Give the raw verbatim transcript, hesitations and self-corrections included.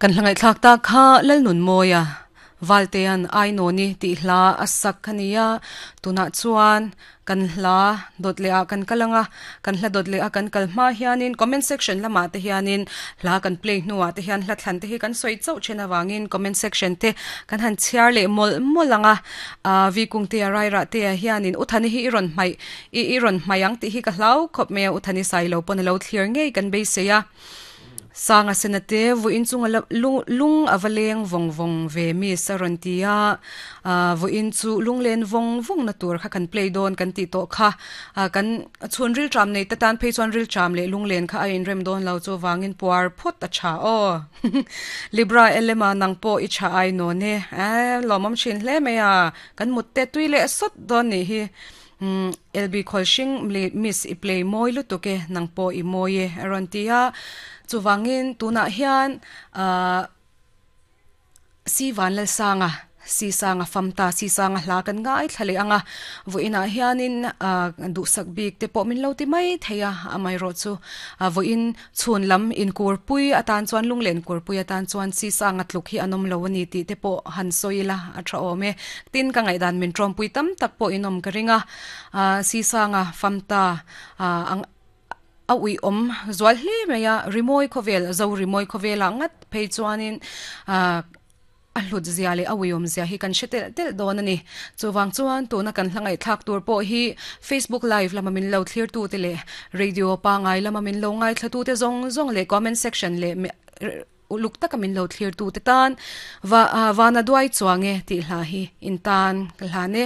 Kan hlangai thlak ta kha lalnun moya valtean ainoni ti hla asak khania tuna chuan kan hla dot le a kan kalanga kan hla dot le a kan kalma hianin comment section lama te hianin hla kan play hnuwa te hian hla thlan te hi kan soi chau chena wangin comment section te kan han chiar le mol molanga a vi kung te rai ra te hianin uthani hi iron mai i iron mayang ti hi ka hlau khop me uthani sai lo pon lo thlir ngei kan be se ya sanga senate vu in chunga lung lung avaleng vong vong ve mi sarontia a vu in chu lunglen vong vong na tur kha kan play don kan ti to kha kan chun ril tram nei tatan phei chuan ril tram le lunglen kha a in rem don lo chu wangin puar phot a cha o libra elema nang po i cha ai no ne a lomam chin hle me a kan mutta tui le sot don ni hi Um, L B Kholshing miss i play moi lu tuke nangpo i moye arontia chuwangin tuna hian uh, si van lal sanga si sanga famta si sanga hla kan ngai thlale anga voina hianin du sak bik te pawh min lo ti mai theia amai ro chu voin chhun lam in kurpui atan chuan lunglen kurpui atan chuan si sanga tluk hi anom lo ani ti te pawh han soila a tha awm e tin ka ngai dan min tawmpui tam tak pawh inom ka ringa si sanga famta ang a ui om zual hle mai a rimoi khovel zo rimoi khovel angat phei chuanin a hlut zia le awiom zia hi kan shetel tel don ani chuwang chuan tuna kan hlangai thak tur po hi Facebook live lama min lo thlir tu te le radio pa ngai lama min lo ngai thla tu te zong zong le comment section le uluk taka min lo thlir tu te tan wa wana duai chuange ti hla hi in tan hla ne.